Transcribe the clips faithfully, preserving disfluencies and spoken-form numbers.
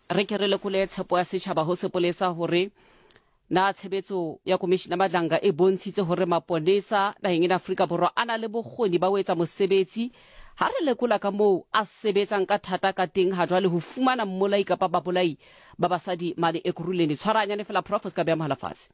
Re ke re lekole tshepo ya setšhaba ho sepolesa hore na tshebetso ya Komishina Madlanga e bontshitse hore maponesa naheng ena Afrika Borwa a na le bokgoni ba ho etsa mosebetsi. Ha re lekola ka moo a sebetsang ka thata ka teng ha jwale ho fumana mmolai kapa babolai ba basadi mane Ekurhuleni. Tshwarahanyane fela, Prof, o se ka beha mohala fatshe.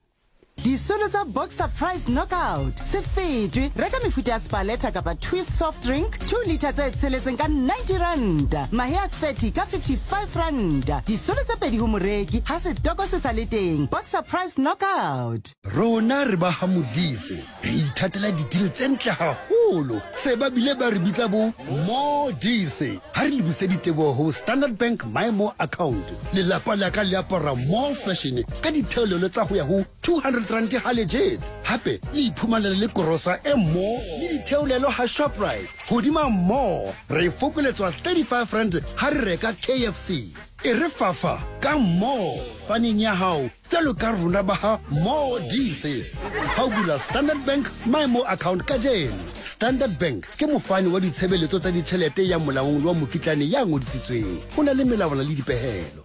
Disolo tsa Boxer Price Knockout. Se fetwe, reka mefuta ya Spaleta kapa Twist soft drink two litre tse tsheletseng ka ninety ranta, mahe a thirty ka fifty-five ranta. Disolo tse pedi ho moreki ha setoko se sa le teng. Boxer Price Knockout. Rona re ba ha Modise, re ithatela di-deal tse ntle haholo. Se ba bile ba re bitsa bo Modise. Ha re lebise diteboho ho Standard Bank My More account. Lelapa la ka le apara more fashion ka ditheolelo tsa ho ya ho two hundred rand ha legit. Hape le iphumanela le korosa e more le ditheolelo ha Shoprite. Hodima more, re fokoletswa thirty-five rand ha re reka K F C. E re fafa ka more faneng ya hao jwalo ka rona ba ha Modise. Ha o bula Standard Bank My More account kajeno. Standard Bank ke mofani wa ditshebeletso tsa ditjhelete ya molaong le wa mokitlane ya ngodisitsweng. Ho na le melawana le dipehelo.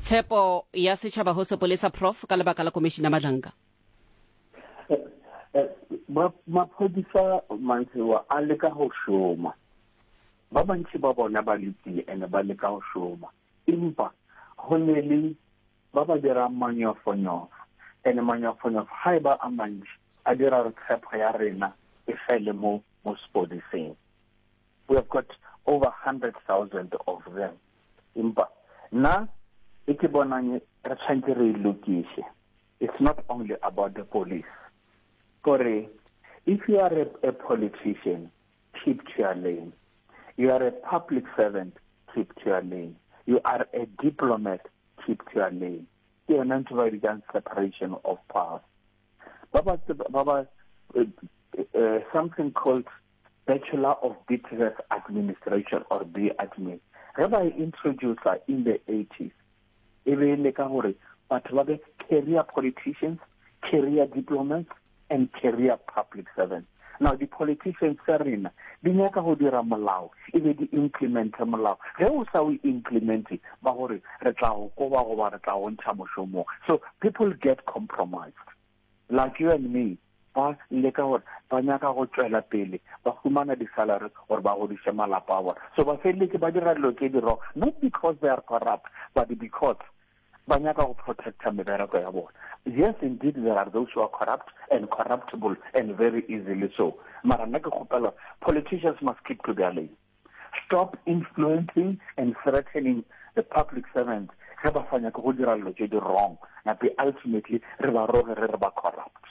Tshepo ya setšhaba ho sepolesa, Prof, ka lebaka la Komishina Madlanga? Maphodisa mantsiwa a leka go šoma, ba bantši ba bona ba lokile and ba leka go šoma, empa go ne le ba ba dirang manyofonyofo, and manyofonyofo ga e ba a mantši a dira re tshepo ya rena e fele mo mo sepodiseng. We have got over hundred thousand of them, empa nna e ke bonang re tshwanetse re e lokise, it's not only about the police. Kore if you are a, a politician, keep to your lane. You are a public servant, keep to your lane. You are a diplomat, keep to your lane. Ke yona ntho ba e bitsang separation of powers. Ba ba ba ba uh, uh, something called Bachelor of Business Administration or B Admin, ge ba e introduce in the eighties, e be e le ka gore batho ba be career politicians, career diplomats and career public servants. Now the politicians tsa rena di nyaka go dira molao, e be di implemente molao. Ge o sa o implemente, ba gore re tla go koba goba re tla go ntšha mošomong. So people get compromised like you and me. Ba leka gore ba nyaka go tswela pele ba humana di-salary gore ba godiše malapa a bona, so ba feleletse ba dira dilo tse di wrong, not because they are corrupt, but because ba nyaka go protecta mebereko ya bona. Yes, indeed, there are those who are corrupt and corruptible and very easily so, mara nna ke kgopela, politicians must keep to their lane. Stop influencing and threatening the public servants ge ba sa nyake go dira dilo tse di wrong, nape ultimately re ba roge re re ba corrupt.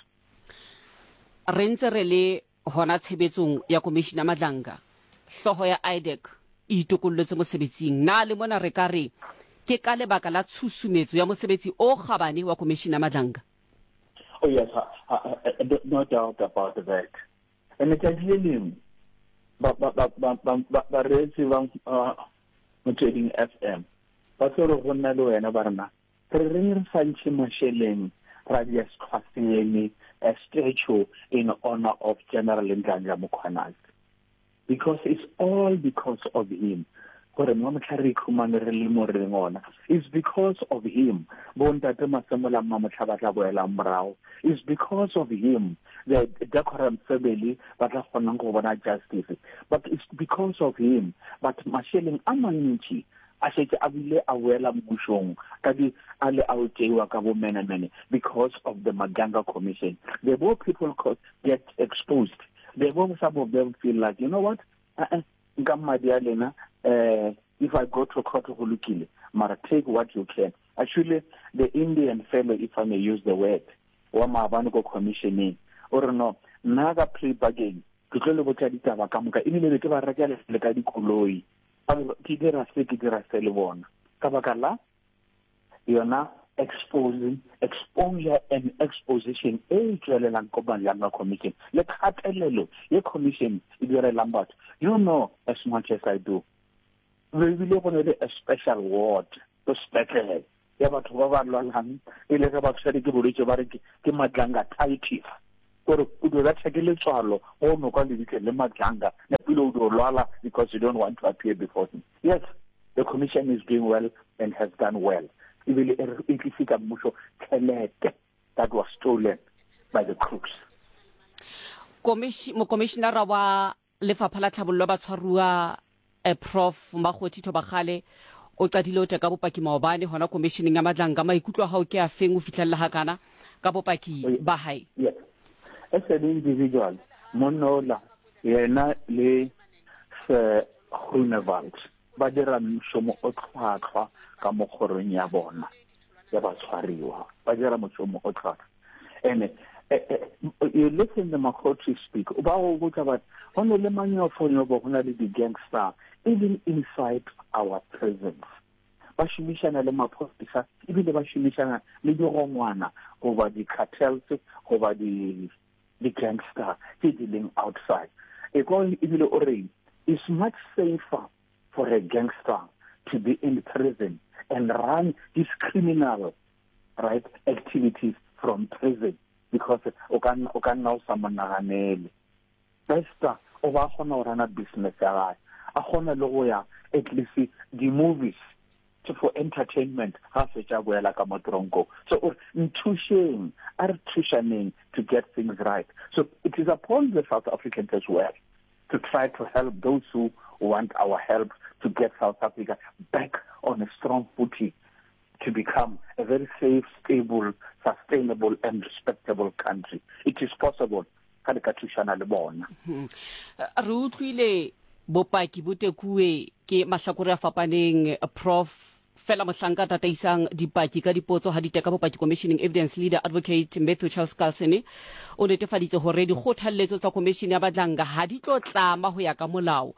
Re ntse re le hona tshebetsong ya Komishina Madlanga, hlooho ya IDAC e itokolletse mosebetsing. Na le mona re ka re ke ka lebaka la tshusumetso ya mosebetsi o kgabane wa Komishina Madlanga? Oh yes, uh, uh, uh, no doubt about that. And letšatši le lengwe ba ba ba ba ba bareetsi ba Motsweding F M ba tlo re go nna le wena ba rena re reng re sa ntšhe mašeleng ra dia setlhwaseeme, a statue in honor of General Nhlanhla Mkhwanazi, because it's all because of him gore mo motlha re ikhumane re le mo re leng ona. It's because of him bontate Masemola Mamotlha ba tla boelang morago. It's because of him the decorum family ba tla kgonang go bona justice, but it's because of him. But mašeleng a mantši a šetše a bile a boela mmušong ka di a le a o tšeiwa ka bomenemene because of the Madlanga Commission. The more people get exposed, the more some of them feel like, you know what, uh-uh, nka madi a lena, uh, if I go to court, go lokile, mara take what you can. Actually, the Indian fellow, if I may use the word, wa maabane ko commissioning o re, no, nna ka plea bargain ke tlo le botsa ditaba ka moka, ebile be ke ba rekela le ka dikoloi, ke dira se, ke dira se le bona, ka baka la yona exposing, exposure and exposition e tswelelang ko Madlanga Commission le kgatelelo ye commission e direlang batho. You know as much as I do, ebile go ne le a special ward ko sepetlele ya batho ba ba lwalang e le ge ba tshwere ke bolwetse ba re ke Madlanga titis, gore o dio betha ke letswalo go no kwa lebitleng le Madlanga. Ebile o dio lwala because you don't want to appear before him. Yes, the commission is doing well and has done well. Ebile e tlisitsa mmuso tjhelete that was stolen by the crooks. Mokomishinara wa Lefapha la Tlhabollo ya Batshwaruwa Prof Makgothi Thobakgale o qadile o teka bopaki maobane hona commissioning ya Madlanga. Maikutlo a hao ke a feng o fihlella hakana ka bopaki ba hae? Yes. As an individual, monna yena le Sir Groenewald ba dira moshomo o tlhwatlhwa ka mo kgorong ya bona ya batshwariwa, ba dira moshomo o tlhwatlhwa. And uh, uh, you listen to Makgothi speak, ba go botsa ba go ne le manyofonyofo, go na le di-gangster even inside our prisons. Ba šomišana le maphodisa ebile ba šomišana le digongwana goba di-cartels goba di-gangster tse di leng outside. E kwa ebile o reng it's much safer for a gangster to be in prison and run his criminal right activities from prison because o ka o ka nna o sa mo naganele. Bester o ba kgona go rana business ya gae, a kgona le go ya at least di-movies for entertainment ga fetša boela ka mo tronko. So or nthušeng, a re thušaneng to get things right. So it is upon the South Africans as well to try to help those who want our help to get South Africa back on a strong footing to become a very safe, stable, sustainable and respectable country. It is possible. Ga le ka thušana le bona. Re utlwile bopaki bo tekuwe ke mahlakore a fapaneng, Prof fela mohlanka tataisang dipaki ka dipotso ha di teka bopaki commissioning evidence leader Advocate Matthew Charles Carlson o netefaditse hore dikgothalletso tsa commission ya Madlanga ha di tlo tlama ho ya ka molao.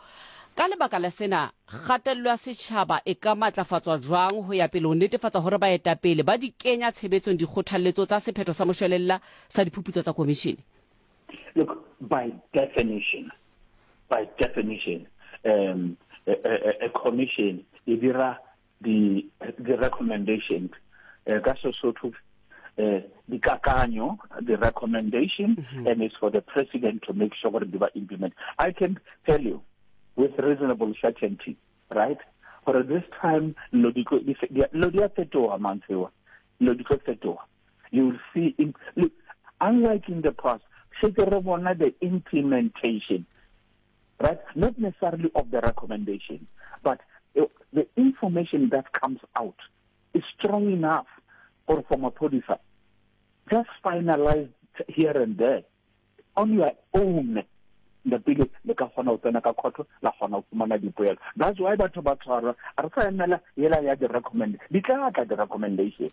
Ka lebaka la sena, kgatello ya setjhaba e ka matlafatswa jwang ho ya pele ho netefatsa hore baetapele ba di kenya tshebetsong dikgothalletso tsa sephetho sa moshwelella sa diphuputso tsa commission? Look, by definition, by definition, um, a, a, a commission e dira the the recommendations, ka Sesotho dikakanyo, the recommendation, mm-hmm. and it's for the president to make sure they were implemented. I can tell you with reasonable certainty, right? For this time, lo di fetoha mantswe, lo di fetoha. You will see, in, look, unlike in the past, the implementation, right? Not necessarily of the recommendation, but the information that comes out is strong enough or from a producer. Just finalize here and there on your own. The biggest le ka kgona ho tsena ka khotho la kgona ho fumana dipoelo. That's why batho ba tshwarwa. A re sa emela yela ya di-recommend. Di tla tla di-recommendation,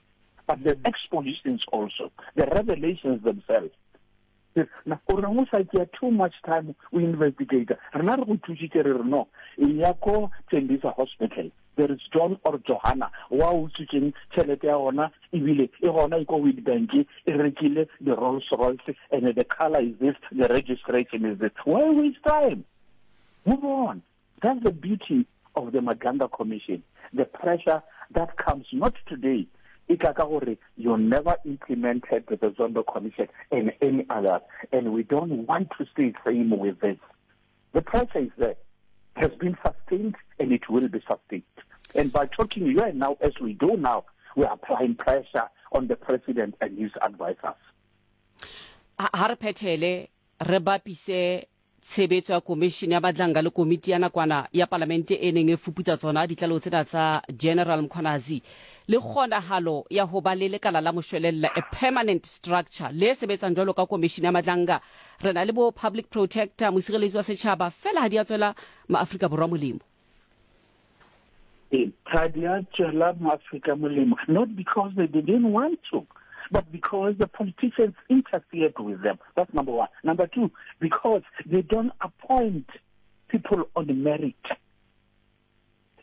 but the expositions also, the revelations themselves. Na o reng o sa tšea too much time o investigate. Rena re go thusitse re re no, e ya ko Tembisa Hospital. There is John or Johanna wa utswitseng tšhelete ya gona ebile e gona e ko Witbank e rekile the Rolls Royce and the color is this, the registration is this. Why waste time? Move on. That's the beauty of the Madlanga Commission. The pressure that comes not today. You never implemented the Zondo Commission and any other, and we don't want to stay same with this. The pressure is there, has been sustained, and it will be sustained. And by talking here now, as we do now, we are applying pressure on the president and his advisors. Ha re phethele re bapise tshebetso ya commission ya Madlanga le komiti ya nakwana ya palamente e neng e fuputsa tsona ditlaleho tsena tsa General Mkhwanazi le kgonahalo ya ho ba le lekala la moshwelella, a permanent structure le sebetsang jwalo ka commission ya Madlanga. Re na le bo public protector, mosireletsi wa setjhaba, fela ha di a tswela maAfrika Borwa molemo. Ha di a tswela maAfrika molemo, not because they didn't want to, but because the politicians interfered with them. That's number one. Number two, because they don't appoint people on merit.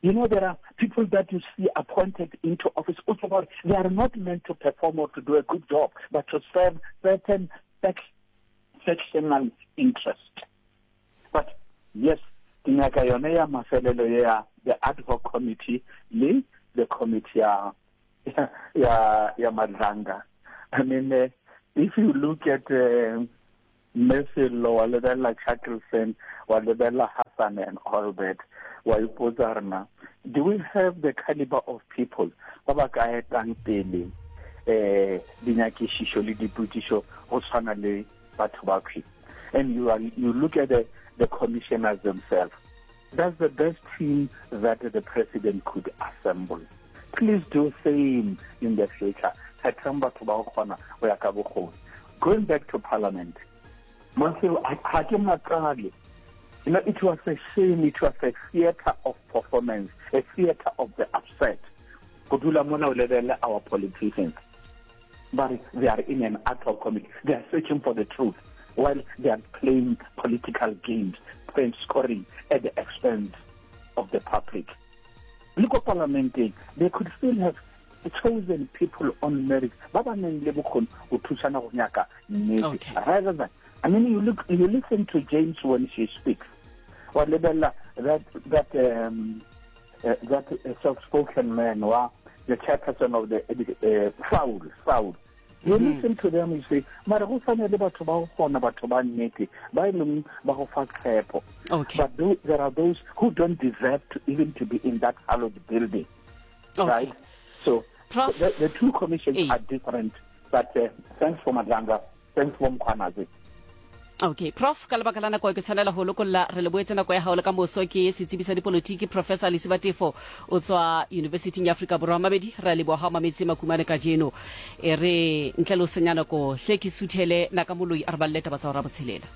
You know, there are people that you see appointed into office. Also, they are not meant to perform or to do a good job, but to serve certain sectional interest. But yes, the ad hoc committee, le the committee ya ya Madlanga. I mean, uh, if you look at uh, Messi, wa lebella Shackleton, wa lebella Sun and all that, wa ipotsa rena, do we have the caliber of people ba ba ka etang pele eh dinyakišišo le dipotšišo go tshwana le batho ba khwi? And you are, you look at the, the commissioners themselves. That's the best team that the president could assemble. Please do same in the future. Kgethang batho ba go kgona go ya ka bokgoni. Going back to parliament, ga ke makale. You know, it was a shame. It was a theater of performance, a theater of the upset. Go dula mona o lebelle our politicians, but they are in an ad hoc committee. They are searching for the truth while they are playing political games, playing scoring at the expense of the public. Look at parliament, they could still have chosen people on merit. Ba ba neng le bokgoni go thusana go nyaka nnete. Okay. Rather than, I mean, you look, you listen to James when she speaks. Wa lebella that, that, um, uh, that uh, self-spoken man, wa, the chairperson of the uh, Saul, Saul. You mm-hmm. listen to them, you say, mara go tshwana le batho ba go kgona, batho ba nnete, ba e leng ba go fa tshepo. Okay. But th- there are those who don't deserve to even to be in that hallowed building. Okay. Right? So Prof, the, the two commissions eh. are different. But uh, thanks for Madlanga, thanks for Mkhwanazi. Okay, Prof, ka lebaka la nako ke tshwanela ho lokolla re le boetse nako ya hao le ka moso ke setsebi sa dipolotiki Professor Lesiba Teffo o tswa University ya Afrika Borwa. Mabedi re a leboha ha mametse makumane kajeno. E re ntle le ho senya nako hle ke suthele naka moloi a re balle taba tsa hora botshelela.